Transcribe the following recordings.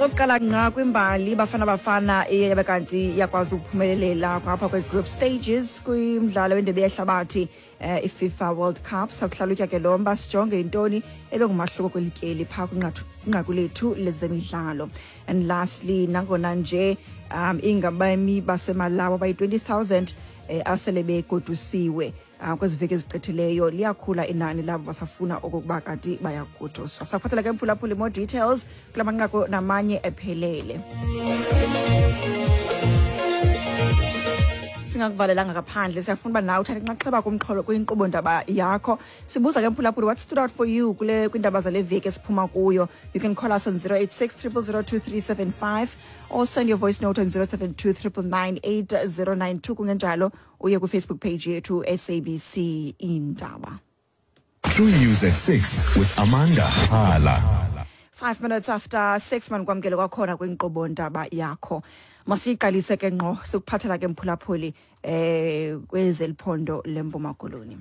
Okokuqala ngqa kwimbali, Bafana Bafana iye yabe kanti iyakwazi ukuphumelelela ngapha kwe-group stages kwimdlalo wendebe yehlabathi, iFIFA World Cup. Sakuhlalutya ke lo mba, sijonge intoni ebengumahluko kweli tyeli phaa kwinqaku lethu lezemidlalo. And lastly, nangona nje ingabemi baseMalawi abayi-20,000 asele begodusiwe kwezi veki ezigqithileyo, liyakhula inani labo basafuna okokuba kanti bayagoduswa. Sakuphathela ke, mphulaphuli, more details kula manqaku namanye ephelele. Singakuvalelanga ngaphandle, siyafuna uba nawe uthathe inxaxheba kumxholo kwinkqubo ndaba yakho. Sibuza ke, mphulaphuli, what stood out for you kule kwiindaba zale veki esiphuma kuyo? You can call us on 086 000 2375 or send your voice note on 072 999 8092. Kungenjalo uye kwiFacebook page yethu, SABC Indaba. True News at 6 with Amanda Hala. 5 minutes after 6, manikwamkele kwakhona kwinkqubo ndaba yakho. Masiyiqalise ke ngqo, sikuphathela ke, mphulaphuli, kwezeliphondo leMpuma Koloni.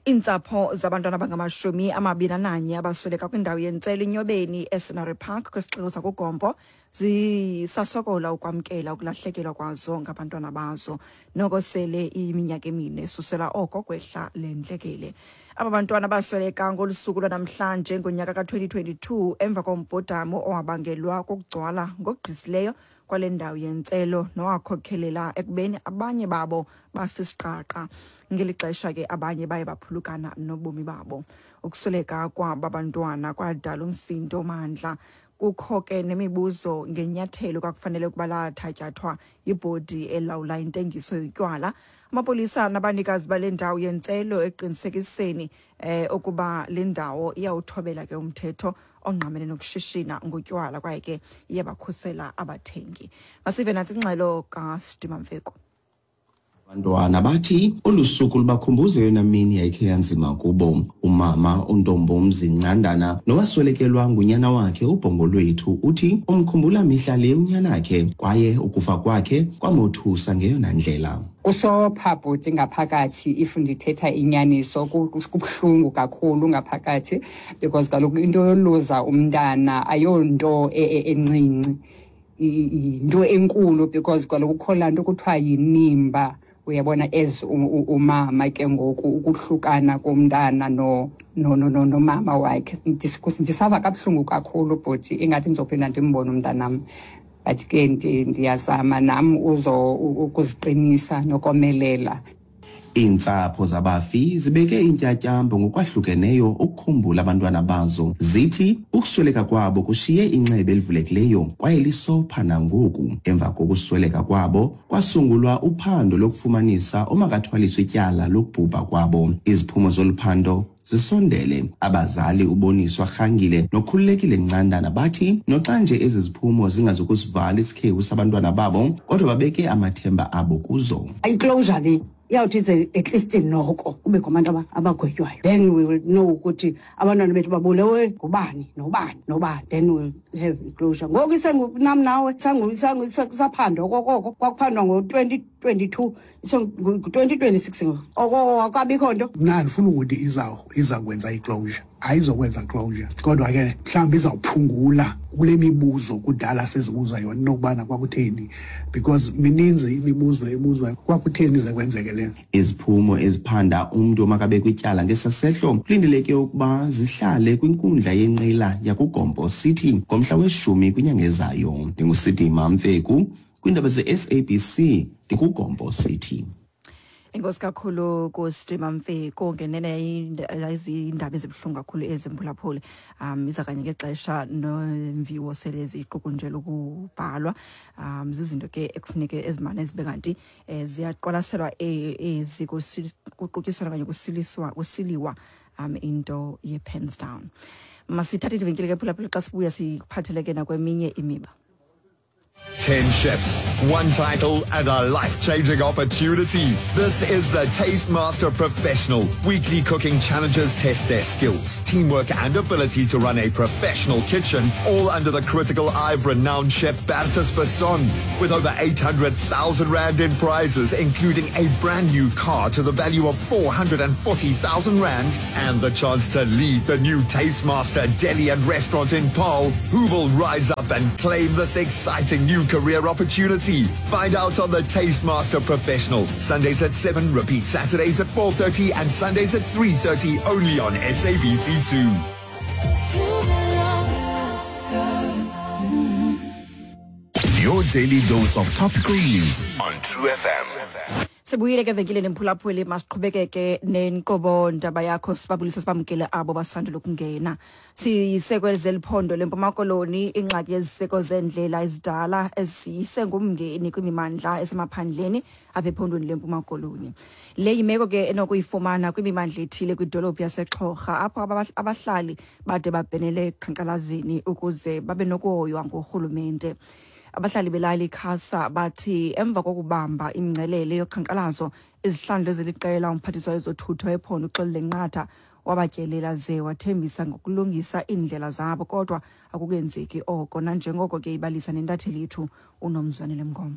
Iintsapho zabantwana abangama-21 abasweleka kwindawo yentselo iNyobeni eScenery Park kwisixeko sakuGompo zisasokola ukwamkela ukulahlekelwa kwazo ngabantwana bazo, noko sele iminyaka 4 susela oko kwehla le ntlekele. Aba bantwana basweleka ngolu suku lwanamhlanje ngonyaka ka-2022 emva kombhodamo owabangelwa kukugcwala ngokugqisileyo kwale ndawo yentselo nowakhokhelela ekubeni abanye babo bafe isiqaqa, ngeli xesha ke abanye baye baphulukana nobomi babo. Ukusweleka kwaba bantwana kwadala umsindo omandla. Kukho ke nemibuzo ngenyathelo kwakufanele ukuba lathatyathwa yibhodi elawula intengiso yotywala, amapolisa nabanikazi bale ndawo yentselo eqinisekiseni ukuba le ndawo iyawuthobela ke umthetho ongqamene nokushishina ngotywala kwaye ke iyabakhusela abathengi. Masive nantsi ingxelo kaSidima Mfeko. Abantwana bathi olu suku lubakhumbuza eyona mini yayikhe yanzima kubo. Umama uNtombomzi Ncandana, nowaswelekelwa ngunyana wakhe uBhongolwethu, uthi umkhumbula mihla le unyanakhe kwaye ukufa kwakhe kwamothusa ngeyona ndlela. Kusopha, bhuti, ngaphakathi. If ndithetha inyaniso, kubuhlungu kakhulu ngaphakathi because kaloku into yoluza umntana ayonto encinci, yinto enkulu because kaloku kukho laa nto kuthiwa yinimba, uyabona, as umama ke ngoku ukuhlukana komntana nomama wakhe. Ndisava kabuhlungu kakhulu, bhuti. Ingathi ndizophinda ndimbone umntanam, but ke ndiyazama nam uzo ukuziqinisa nokomelela. Iintsapho zabafi zibeke iintyatyambo ngokwahlukeneyo ukukhumbula abantwana bazo. Zithi ukusweleka kwabo kushiye inxeba elivulekileyo kwaye lisopha nangoku. Emva kokusweleka kwabo kwasungulwa uphando lokufumanisa omakathwaliswe ityala lokubhubha kwabo. Iziphumo zolu phando zisondele. Abazali uBoniswa Rhangile noKhululekile Ncandana bathi noxa nje ezi ziphumo zingazukusivala isikhewu sabantwana babo, kodwa babeke amathemba abo kuzo. Iclosure le iyawuthi ize at least noko kubekho abantu abagwetywayo, then we will know ukuthi abantwana bethu babulewe ngubani, nobani, nobani. Then we'll have iclosure. Ngoku isengunam nawe kusaphandwa okokoko kwakuphandwa ngo-2022, isengu-2026 ngoku, okoko akukabikho nto. Mna andifuna ukuthi iza kwenza i-closure. Ayizokwenza closure, kodwa ke mhlawumbi izawuphungula kule mibuzo kudala sezibuza yona inokubana kwakutheni, because mininzi imibuzo ebuzwa, kwakutheni ize kwenzeke le. Iziphumo eziphanda umntu omakabekwe ityala ngesasehlo kulindeleke ukuba zihlale kwinkundla yenqila yakuGompo City ngomhla we-10 kwinyanga ezayo. NdinguSidima Mfeku kwiindaba ze-SABC, ndikuGompo City. Enkosi kakhulu kuSidima Mfeko. Ngenene yayizindaba ezibuhlungu kakhulu ezi, mphulaphuli. Iza kanye ngexesha nomviwo sele ziqukunjelwa ukubhalwa. Zizinto ke ekufuneke ezimane zibe kanti ziyaqwalaselwa ezi kuqutyiswana okanye kusiliswa kusiliwa into ye-pens down. Masithathe ivenkile ke, phulaphula. Xa sibuya sikuphathele ke nakweminye imiba. 10 chefs, one title, and a life-changing opportunity. This is the Taste Master Professional. Weekly cooking challenges test their skills, teamwork, and ability to run a professional kitchen, all under the critical eye of renowned chef Bertus Basson. With over 800,000 Rand in prizes, including a brand new car to the value of 440,000 Rand and the chance to lead the new Taste Master Deli and Restaurant in Paarl, who will rise up and claim this exciting new career opportunity? Find out on the Taste Master Professional. Sundays at 7, repeat Saturdays at 4.30 and Sundays at 3.30 only on SABC2. Your daily dose of topical news on True FM. Sibuyile ke venkileni, mphulaphuli. Masiqhubekeke nenkqubo ndaba yakho, sibabulise, sibamkele abo basandula ukungena. Sisekweliphondo leMpuma Koloni. Ingxaki yeziseko zeendlela ezidala ezisengumngeni kwimimandla esemaphandleni apha ephondweni leMpuma Koloni. Le yimeko ke enokuyifumana kwimimandla ethile kwidolophu yaseXhorha, apho abahlali bade babhenele eqhankqalazeni ukuze babe nokuhoywa ngurhulumente. Abahlali belali Khasa bathi emva kokubamba imingcelele yoqhankqalazo izihlandlo eziliqela, umphathiswa wezothutho ephondo uXolile Nqatha wabatyelela ze wathembisa ngokulungisa iindlela zabo, kodwa akukenzeki oko, nanjengoko ke ibalisa nentatheli yethu uNomzwanele Mngoma.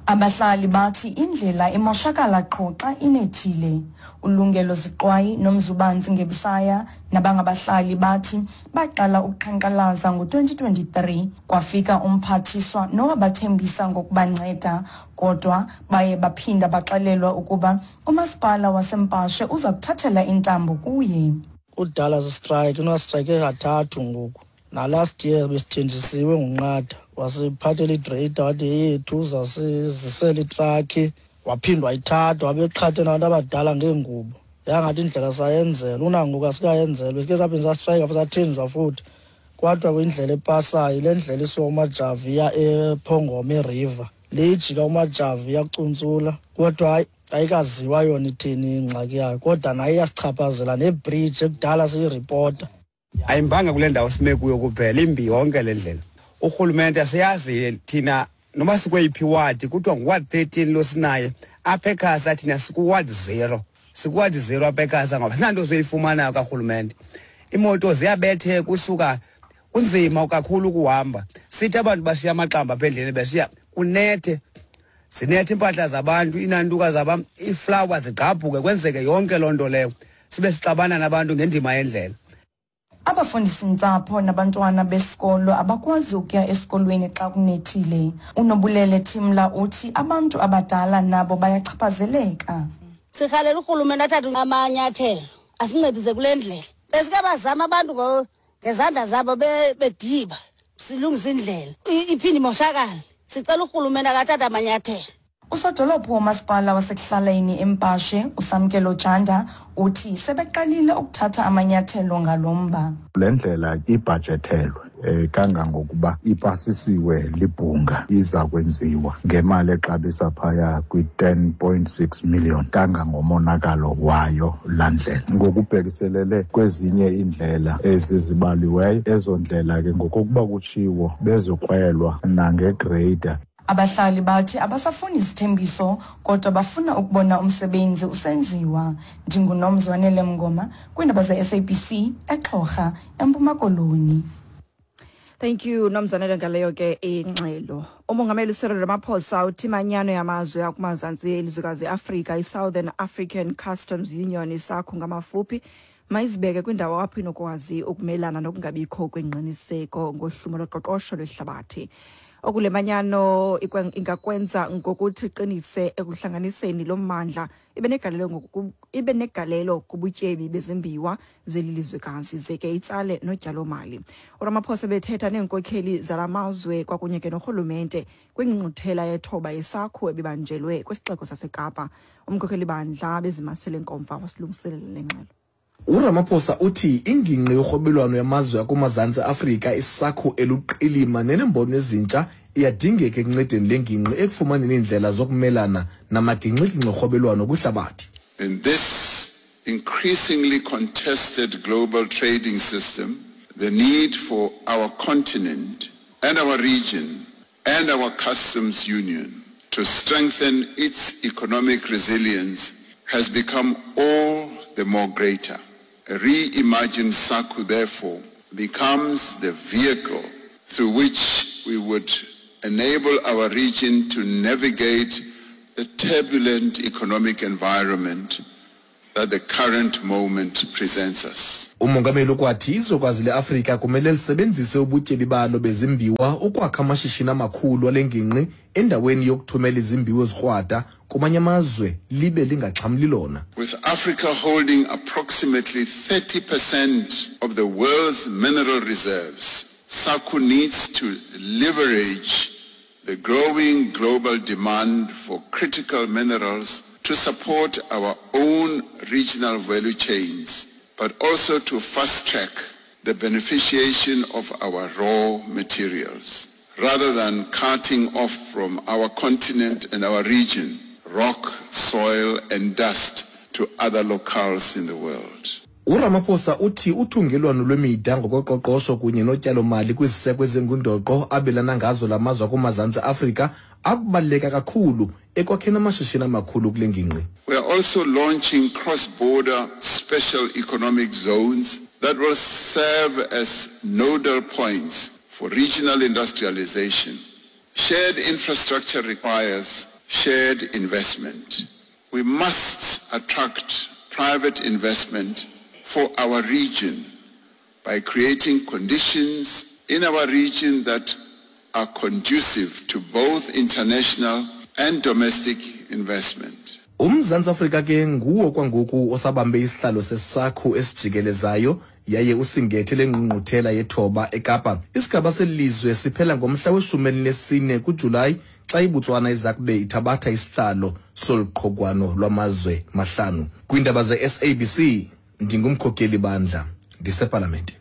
Abahlali bathi indlela imoshakala qho xa inethile. Ulungelo Ziqwayi noMzubanzi Ngebisaya nabangabahlali bathi baqala ukuqhankqalaza ngo-2023, kwafika umphathiswa nowabathembisa ngokubanceda, kodwa baye baphinda baxelelwa ukuba umasipala waseMpashe uza kuthathela intambo kuye. Kudala sistrike, unastrike kathathu ngoku. Nalast year besithenjisiwe nguNqatha, wasiphathela igreyida, wathi yethu uzasizisela itrakhi, waphinda wayithatha, wabeqhathe nabantu abadala ngeengubo, yangathi indlela sayenzela. Unangoku asikayenzelwa. Sike saphinda sastrayika futhi, sathenjiswa futhi, kwathiwa kwindlela epasayo, le ndlela isuka uMajavi iya ePhongoma, iriver le ijika uMajavi iyacuntsula, kodwa hayi, ayikaziwa yona ithini ingxaki yayo, kodwa nayo iyasichaphazela, nebridge ekudala siyiripota. Ayimbanga kule ndawo sime kuyo kuphela, imbi yonke le ndlela. Urhulumente asiyazi thina noma sikweyiphi wadi. Kuthiwa nguward 13 lo sinaye apha ekhasa, thina sikuward 0, sikuward 0 apha ekhasa, ngoba sinanto soyifumanayo karhulumente. Imoto ziyabetheka usuka, kunzima kakhulu ukuhamba. Sithi abantu bashiya amaxamba apha endleleni, beshiya kunethe, zinethe iimpahla zabantu, iinantuka zaba iiflawa zigqabhuke, kwenzeke yonke loo nto leyo, sibe sixabana nabantu ngendima yendlela. Abafundisintsapho nabantwana besikolo abakwazi ukuya esikolweni xa kunethile. Unobulele Thimla uthi abantu abadala nabo bayachaphazeleka. Sirhalela urhulumente athathe amanyathelo, asincedise kule ndlela. Besike bazama abantu ngezandla zabo bediba silungisa indlela, iphinde imoshakale. Sicela urhulumente akathathe amanyathelo. Usodolophu womasipala wasekuhlaleni eMpashe, uSamkelo Janda, uthi sebeqalile ukuthatha amanyathelo ngalo mba. Le ndlela ibhajethelwe kangangokuba ipasisiwe libhunga, iza kwenziwa ngemali exabisa phaya kwi-10.6 million, kangangomonakalo wayo laa ndlela. Ngokubhekiselele kwezinye iindlela ezizibaliweyo, ezo ndlela ke ngokokuba kutshiwo bezokrwelwa nangegreyida. Abahlali bathi abasafuni izithembiso, kodwa bafuna ukubona umsebenzi usenziwa. NdinguNomzwanele Mngoma kwiindaba ze-SABC eXhorha, eMpuma Koloni. Thank you, Nomzanele, ngaleyo ke ingxelo. Umongameli Cyril Ramaphosa uthi imanyano yamazwe akumazantsi elizwekazi iAfrika, iSouthern African Customs Union, iSACU ngamafuphi, mayizibeke kwindawo apho inokwazi ukumelana nokungabikho kwengqiniseko ngohlumo loqoqosho lwehlabathi. Okule manyano ingakwenza ngokuthi iqinise ekuhlanganiseni lo mmandla, ibe negalelo kubutyebi bezimbiwa zeli lizwekazi, ze ke itsale notyalomali. URamaphosa bethetha neenkokheli zala mazwe kwakunye ke norhulumente kwingqungquthela yethoba yeSACU ebibanjelwe kwisixeko saseKapa. Umkhokheli bandla bezimasele nkomfa wasilungiselela le ngxelo. URamaphosa uthi ingingqi yorhwebelwano yamazwe akumazantsi Afrika, iSACU, eluqilima nenembono ezintsha iyadingeka ekuncedeni le ngingqi ekufumaneni iindlela zokumelana namagingxigingxi orhwebelwano kwihlabathi. In this increasingly contested global trading system, the need for our continent and our region and our customs union to strengthen its economic resilience has become all the more greater. A reimagined SACU, therefore, becomes the vehicle through which we would enable our region to navigate the turbulent economic environment that the current moment presents us. Umongameli ukwathi izwekazi le-Afrika kumele lisebenzise ubutyebi balo bezimbiwa ukwakha amashishini amakhulu ale ngingqi endaweni yokuthumela izimbiwa ezikrwada kumanye amazwe libe lingaxhamli lona. With Africa holding approximately 30% of the world's mineral reserves, SACU needs to leverage the growing global demand for critical minerals to support our own regional value chains, but also to fast-track the beneficiation of our raw materials. Rather than carting off from our continent and our region rock, soil and dust to other locales in the world. URamaphosa uthi uthungelwano lwemida ngokoqoqosho kunye notyalomali kwiziseko ezingundoqo abelana ngazo la mazwe akumazantsi Afrika akubaluleka kakhulu ekwakheni amashishini amakhulu kule ngingqi. We are also launching cross-border special economic zones that will serve as nodal points for regional industrialization. Shared infrastructure requires shared investment. We must attract private investment for our region by creating conditions in our region that are conducive to both international and domestic investment. UMzantsi Afrika ke nguwo kwangoku osabambe isihlalo sesakho esijikelezayo yaye usingethe le ngqungquthela yethoba eKapa. Isigaba seli lizwe siphela ngomhla weshumi elinesine kuJulayi xa iBotswana iza kube ithabatha isihlalo solu qhogwano lwamazwe mahlanu. Kwiindaba ze-SABC ndingumkhokeli bandla ndisepalamente.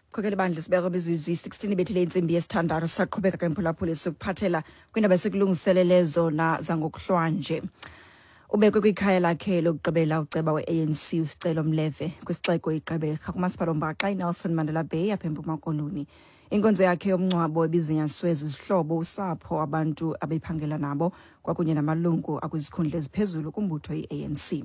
Mkhokeli bandla sibeka imizuzu iyi-16 ibethile intsimbi yesithandathu sisaqhubeka ke mphulaphuli sikuphathela kwiindaba esikulungiselele zona zangokuhlwanje. Ubekwe kwikhaya lakhe lokugqibela uceba we-ANC uSicelo Mleve kwisixeko iGqeberha kumasipala ombaxa iNelson Mandela Bay apha eMpuma Koloni. Inkonzo yakhe yomngcwabo ibizinyaswe zizihlobo, usapho, abantu abephangela nabo kwakunye namalungu akwizikhundla eziphezulu kumbutho i-ANC.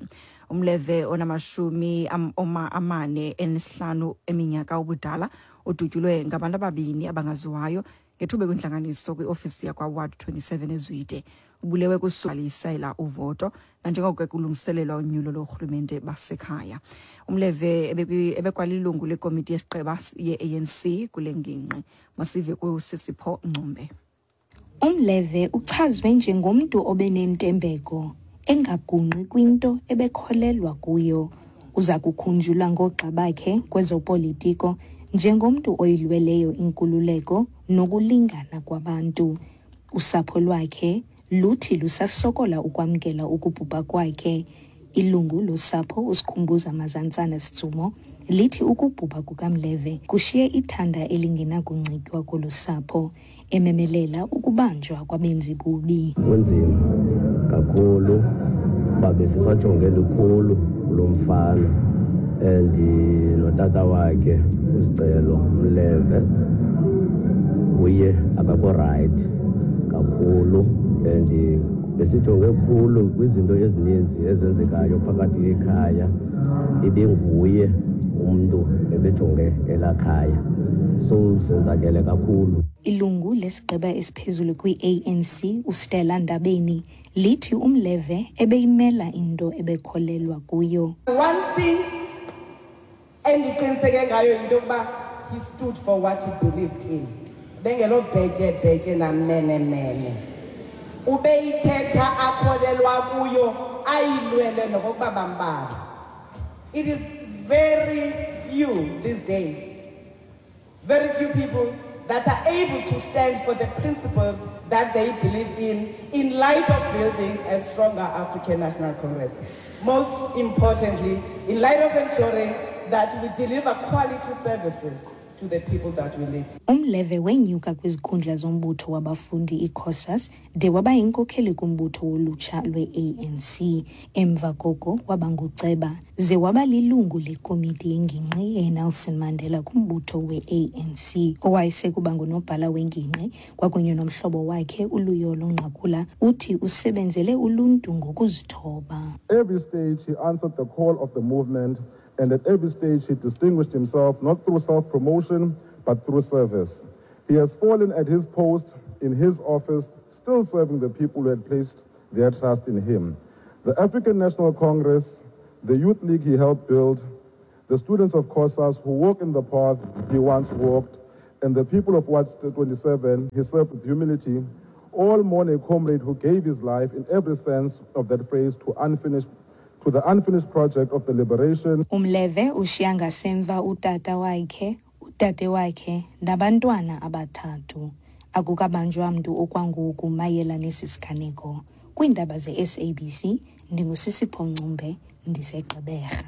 Umleve onamashumi 45 eminyaka ubudala udutyulwe ngabantu ababini abangaziwayo ngethuba kwintlanganiso kwiofisi yakwaWard 27 eZwide. Ubulewe kusalisela uvoto nanjengoko kulungiselelwa unyulo loorhulumente basekhaya. Umleve ebekwalilungu lekomiti yesigqeba ye-ANC kule ngingqi. Masive kuSisipho Ngcumbe. Umleve uchazwe njengomntu obenentembeko, engagungqi kwinto ebekholelwa kuyo. Uza kukhunjulwa ngoogxa bakhe kwezopolitiko njengomntu oyilweleyo inkululeko nokulingana kwabantu. Usapho lwakhe luthi lusasokola ukwamkela ukubhubha kwakhe. Ilungu losapho uSikhumbuza Mazantsana Sitsumo lithi ukubhubha kukaMleve kushiye ithanda elingenakuncitywa kolu sapho, ememelela ukubanjwa kwabenzi bubi. Kunzima kakhulu kuba besisajonge lukhulu kulo mfana and notata wakhe uSicelo Mleve uye akakho right kakhulu and besijonge khulu kwizinto ezininzi ezenzekayo phakathi ekhaya, ibinguye umntu ebejonge elakhaya, so senzakele kakhulu. Ilungu lesigqeba esiphezulu kwi-ANC uStella Ndabeni lithi uMleve ebeyimela into ebekholelwa kuyo. One thing endiqiniseke ngayo yinto yokuba he stood for what he believed in. Bengelo bhetye bhetye namenemene. Ubeyithetha akholelwa kuyo ayilwele nokokuba bambala. It is very few these days, very few people that are able to stand for the principles that they believe in light of building a stronger African National Congress. Most importantly, in light of ensuring that we deliver quality services to the people that we lead. Umleve wenyuka kwizikhundla zombutho wabafundi iCOSAS de waba yinkokheli kumbutho wolutsha lwe-ANC. Emva koko waba nguceba ze waba lilungu lekomiti yengingqi yeNelson Mandela kumbutho we-ANC. Owayesekuba ngunobhala wengingqi kwakunye nomhlobo wakhe uLuyolo Nqakula uthi usebenzele uluntu ngokuzithoba. Every stage he answered the call of the movement, and at every stage he distinguished himself not through self-promotion but through service. He has fallen at his post in his office, still serving the people who had placed their trust in him. The African National Congress, the Youth League he helped build, the students of COSAS who walk in the path he once walked, and the people of Ward 27 he served with humility, all mourn a comrade who gave his life in every sense of that phrase to the unfinished project of the liberation. Umleve ushiya ngasemva utata wakhe, udade wakhe nabantwana abathathu. Akukabanjwa mntu okwangoku mayela nesi siganeko. Kwiindaba ze-SABC, ndinguSisipho Ncumbe, ndiseGqeberha.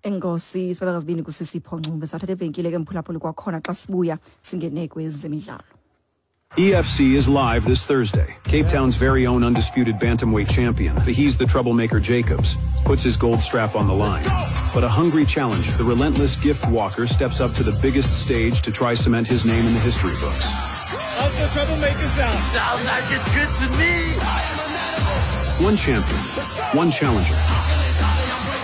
Enkosi sibabeka zibini kuSisipho Ncumbe. Sathatha ivenkile ke, mphulaphuli, kwakhona xa sibuya singene kwezemidlalo. EFC is live this Thursday. Cape Town's very own undisputed bantamweight champion, Faheez the Troublemaker Jacobs, puts his gold strap on the line. But a hungry challenger, the relentless Gift Walker, steps up to the biggest stage to try cement his name in the history books. How's the troublemaker sound? Sounds like it's good to me. One champion, one challenger.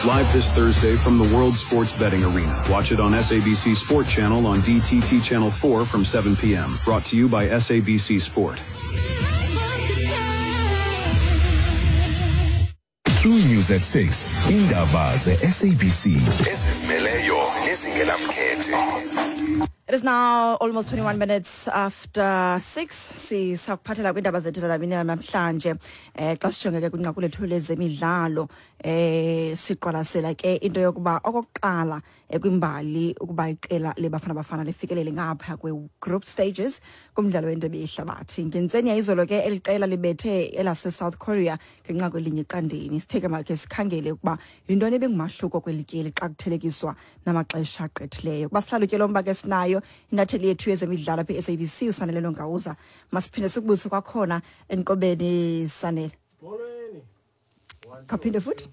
Live this Thursday from the World Sports Betting Arena. Watch it on SABC Sport Channel on DTT Channel 4 from 7 p.m. Brought to you by SABC Sport. True News at 6. Indaba ze-SABC ezizimeleyo nezingenamkhethe. It is now almost 21 minutes after 6. Sisakuphathela kwiindaba zethu lamini namhlanje. Xa sijonge ke kwinqaku lethu lezemidlalo, siqwalasela ke into yokuba okokuqala kwimbali ukuba iqela leBafana Bafana lifikelele ngapha kwe-group stages kumdlalo wendebe yehlabathi. Ngentseni yayizolo ke eli qela libethe elase-South Korea ngenqaku 1-0. Sitheke makhe sikhangele ukuba yintoni ebengumahluko kweli tyeli xa kuthelekiswa namaxesha agqithileyo. Kuba sihlalutye lo mba ke sinayo intatheli yethu yezemidlalo apha e-SABC, uSanele Nongawuza. Masiphinde sikubuse kwakhona enkqubeni, Sanele. Kaphinde futhi.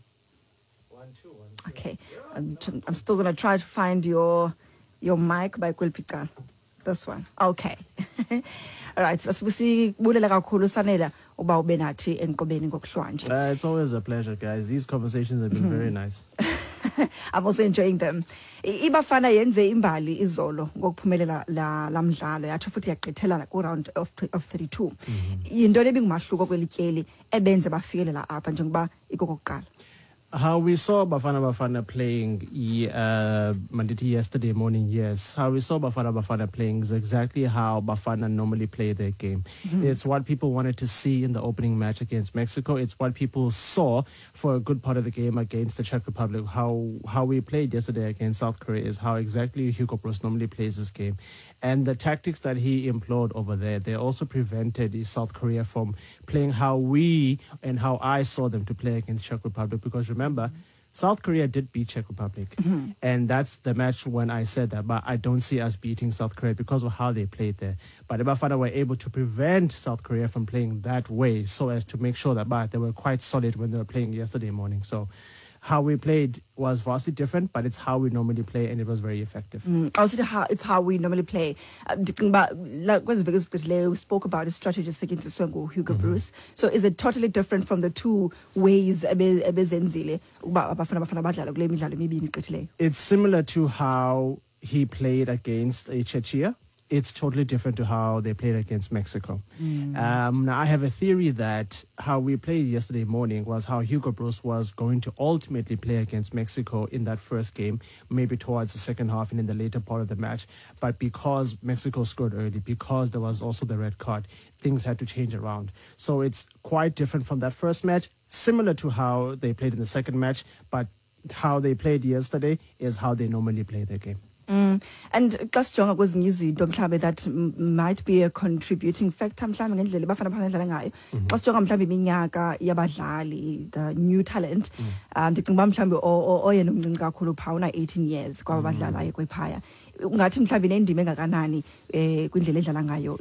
Okay, I'm still going to try to find your mic by kweliphi icala. This one. Okay. All right, sibulela kakhulu, Sanela, uba ube nathi enkqubeni ngokuhlwanje. It's always a pleasure, guys. These conversations have been very nice. I'm also enjoying them. IBafana yenze imbali izolo ngokuphumelela la mdlalo, yatsho futhi yagqithela ku round of 32. Yintoni ebingumahluko kwelityeli ebenze bafikelela apha njengoba ikokokuqala? How we saw Bafana Bafana playing mandithi yesterday morning, yes. How we saw Bafana Bafana playing is exactly how Bafana normally play their game. It's what people wanted to see in the opening match against Mexico. It's what people saw for a good part of the game against the Czech Republic. How we played yesterday against South Korea is how exactly Hugo Broos normally plays his game. And the tactics that he employed over there, they also prevented South Korea from playing how we and how I saw them to play against Czech Republic. Because remember, South Korea did beat Czech Republic. And that's the match when I said that. But I don't see us beating South Korea because of how they played there. But Bafana were able to prevent South Korea from playing that way so as to make sure that but they were quite solid when they were playing yesterday morning. So how we played was vastly different, but it's how we normally play, and it was very effective. Also, it's how we normally play. Ndicinga uba, kwezi veki ezigqithileyo, we spoke about i-strategy esetyenziswe nguHugo Broos. So is it totally different from the two ways ebezenzile ukuba Abafana Bafana badlala kule midlalo emibini igqithileyo? It's similar to how he played against Czechia. It's totally different to how they played against Mexico. Now, I have a theory that how we played yesterday morning was how Hugo Broos was going to ultimately play against Mexico in that first game, maybe towards the second half and in the later part of the match. But because Mexico scored early, because there was also the red card, things had to change around. So it's quite different from that first match, similar to how they played in the second match, but how they played yesterday is how they normally play their game. And xa sijonga kwezinye izinto mhlawumbe that might be a contributing factor mhlawumbe ngendlela Bafana Bafana dlala ngayo, xa sijonga mhlawumbe iminyaka yabadlali, the new talent, ndicinga uba mhlawumbe oyena umncinci kakhulu phaa una 18 years kwaba badlalayo kwephaya. Ungathi mhlawumbi nendima engakanani kwindlela edlala ngayo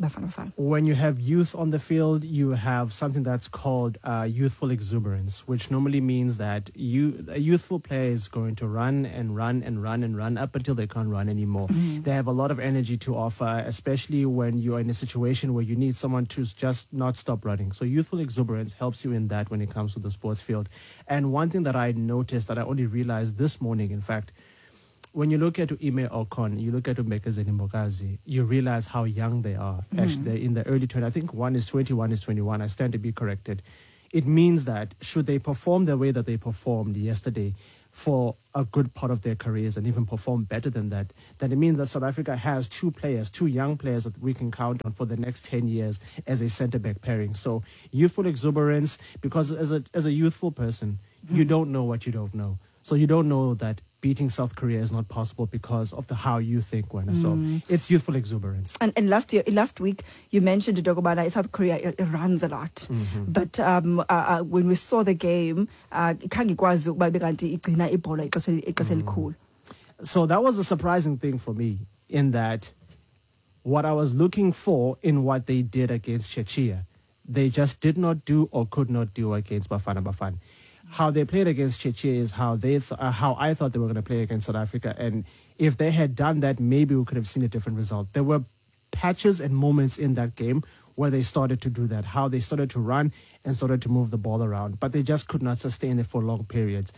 Bafana Bafana? When you have youth on the field, you have something that's called youthful exuberance, which normally means that a youthful player is going to run and run and run and run up until they can't run anymore. They have a lot of energy to offer, especially when you're in a situation where you need someone to just not stop running. So youthful exuberance helps you in that when it comes to the sports field. And one thing that I noticed that I only realized this morning, in fact, when you look at Ime Okon, you look at Mbekezeli Mbokazi, you realize how young they are. Actually, they're in the early 20s. I think one is 20, one is 21. I stand to be corrected. It means that should they perform the way that they performed yesterday for a good part of their careers and even perform better than that, then it means that South Africa has two players, two young players that we can count on for the next 10 years as a centre-back pairing. So youthful exuberance, because as a youthful person, you don't know what you don't know. So you don't know that beating South Korea is not possible because of the how you think, Wena. So it's youthful exuberance. And last week, you mentioned Dogobana, South Korea, it runs a lot. But when we saw the game, khange ikwazi ukuba ibe kanti igcina ibhola ixesha elikhulu. So that was a surprising thing for me, in that what I was looking for in what they did against Czechia, they just did not do or could not do against Bafana Bafana. How they played against Czechia is how I thought they were going to play against South Africa. And if they had done that, maybe we could have seen a different result. There were patches and moments in that game where they started to do that, how they started to run and started to move the ball around. But they just could not sustain it for long periods.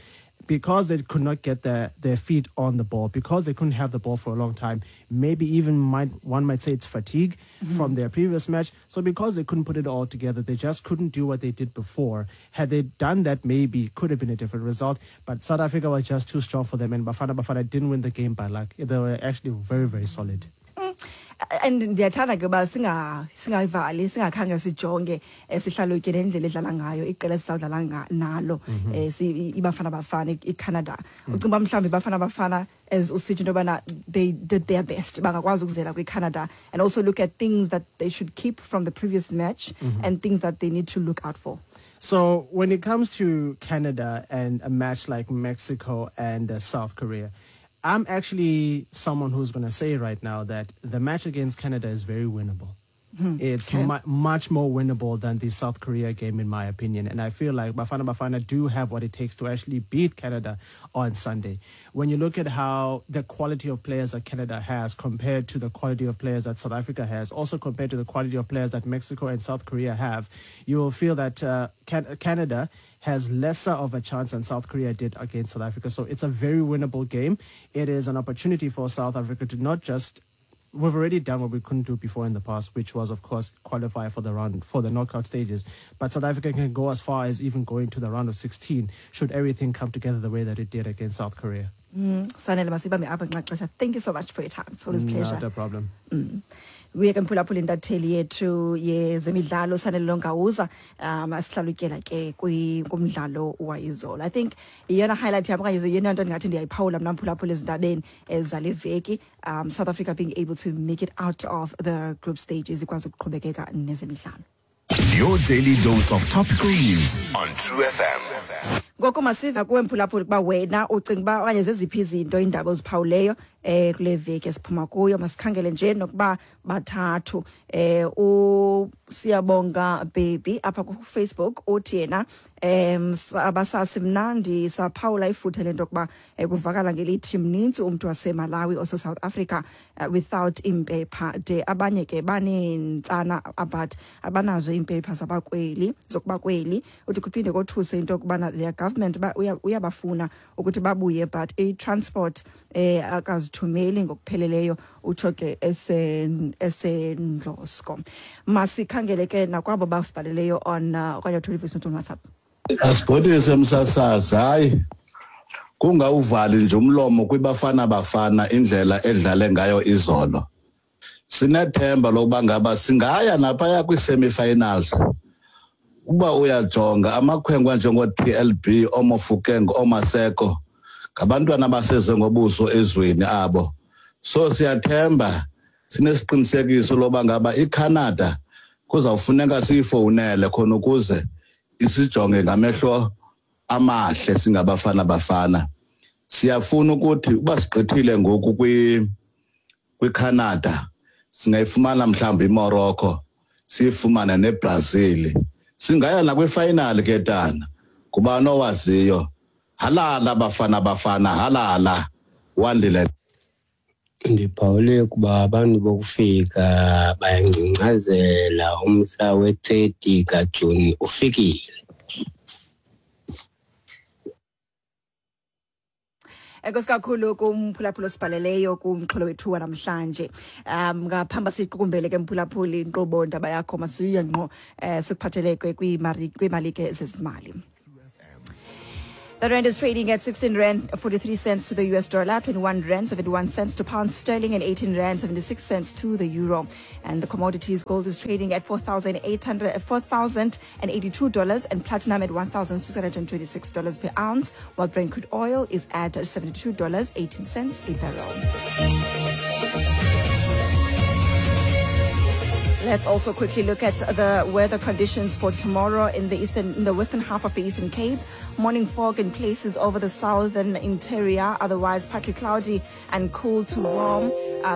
Because they could not get their feet on the ball, because they couldn't have the ball for a long time, maybe even one might say it's fatigue from their previous match. So because they couldn't put it all together, they just couldn't do what they did before. Had they done that, maybe it could have been a different result. But South Africa was just too strong for them, and Bafana Bafana didn't win the game by luck. They were actually very, very solid. And ndiyathanda ke uba singayivali, singakhange sijonge sihlalutye nendlela edlala ngayo iqela esizawudlala nalo, iBafana Bafana, iCanada. Ucinga uba mhlawumbi iBafana Bafana, as usitsho into yobana they did their best, bangakwazi ukuzela kwiCanada, and also look at things that they should keep from the previous match and things that they need to look out for. So when it comes to Canada and a match like Mexico and South Korea, I'm actually someone who's going to say right now that the match against Canada is very winnable. It's much more winnable than the South Korea game, in my opinion. And I feel like Bafana Bafana do have what it takes to actually beat Canada on Sunday. When you look at how the quality of players that Canada has compared to the quality of players that South Africa has, also compared to the quality of players that Mexico and South Korea have, you will feel that Canada has lesser of a chance than South Korea did against South Africa. So it's a very winnable game. It is an opportunity for South Africa to not just... We've already done what we couldn't do before in the past, which was, of course, qualify for the round, for the knockout stages. But South Africa can go as far as even going to the round of 16 should everything come together the way that it did against South Korea. Sanele, masibambe apha ngenxa xesha. Thank you so much for your time. It's always a pleasure. Not a problem. Uye ke mphulaphula intatheli yethu yezemidlalo Sanele Nongawuza, asihlalutyela ke kumdlalo wayizolo. I think yeyona highlight yam okanye yeyona nto ndingathi ndiyayiphawula mna mphulaphula ezindabeni zale veki, South Africa being able to make it out of the group stages, ikwazi ukuqhubekeka nezemidlalo. Your daily dose of topical news on True FM. Ngoku masiva kuwe mphulaphula ukuba wena ucinga uba okanye zeziphi izinto iindaba oziphawuleyo kule veki esiphuma kuyo. Masikhangele nje nokuba bathathu. uSiyabonga Baby apha ku-Facebook uthi yena, abasasi mnandi saphawula ifuthe lento yokuba kuvakala ngelithi mnintsi umntu waseMalawi ose-South Africa without iimpepha de abanye ke baneentsana but abanazo iimpepha zabakweli, zokuba kweli. Uthi kuphinde kothuse into yokubana their government uyabafuna ukuthi babuye but i-transport akazithumeli ngokupheleleyo, utsho ke esendlosko. Masikhangele ke nakwabo basibhaleleyo on okanye uthole i-voice note on WhatsApp. Asibhodise msasazi, hayi kungawuvali nje umlomo kwiBafana Bafana indlela edlale ngayo izolo. Sinethemba lokuba ngaba singaya naphaya kwi-semi-finals. Uba uyajonga amakhwenkwe anjengo-T L B, ooMofokeng, ooMaseko, ngabantwana abaseze ngobuso ezweni abo. So siyathemba, sinesiqinisekiso loba ngaba iCanada kuzawufuneka siyifowunele khona ukuze isijonge ngamehlo amahle singabafana Bafana. Siyafuna ukuthi uba sigqithile ngoku kwiCanada, singayifumana mhlawumbi iMorocco, siyifumane neBrazil, singaya nakwifinal ke tana. Ngubani owaziyo? Halala Bafana Bafana, halala. Wandile. Ndiphawule ukuba abantu bokufika bayangcingcazela, umhla we-30 kaJuni ufikile. Enkosi kakhulu kumphulaphuli osibhaleleyo kumxholo wethu wanamhlanje. Ngaphambi siyiqukumbele ke mphulaphuli inkqubo ndaba yakho, masiye ngqo sikuphatheleke kwiimalike zezimali. The rand is trading at 16 rand 43 cents to the US dollar, 21 rand 71 cents to pound sterling, and 18 rand 76 cents to the euro. And the commodities, gold is trading at $4,800, $4,082 and platinum at $1,626 per ounce, while Brent crude oil is at $72.18 a barrel. Let's also quickly look at the weather conditions for tomorrow in the western half of the Eastern Cape. Morning fog in places over the southern interior, otherwise partly cloudy and cool to warm,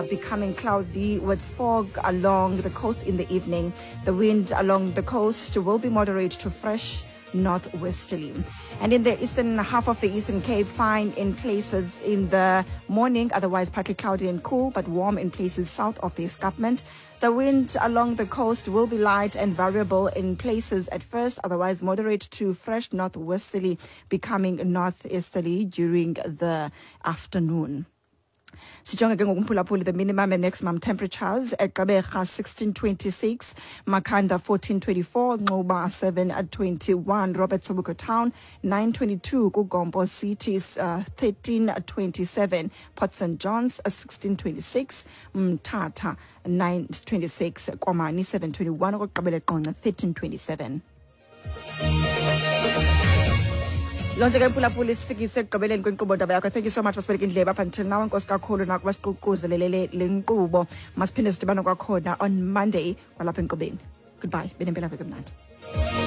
becoming cloudy with fog along the coast in the evening. The wind along the coast will be moderate to fresh northwesterly. And in the eastern half of the Eastern Cape, fine in places in the morning, otherwise partly cloudy and cool, but warm in places south of the escarpment. The wind along the coast will be light and variable in places at first, otherwise moderate to fresh northwesterly, becoming northeasterly during the afternoon. Sijonge ke ngoku, the minimum and maximum temperatures. EGqeberha 1626, Makhanda 1424, Nxuba 721, Robert Sobukwe Town 922, KuGompo City 1327, Port St Johns 1626, Mthatha 926, Komani 721, okokugqibela eQonce 1327. Loo nto ke, mphulaphuli, sifikise ekugqibeleni kwenkqubo ndaba yakho. Thank you so much basibeleka indlebe up until now. Enkosi kakhulu nakuba siququzelelele le nkqubo. Masiphinde sidibane kwakhona on Monday kwalapha enkqubeni. Goodbye, benempela veki emnandi.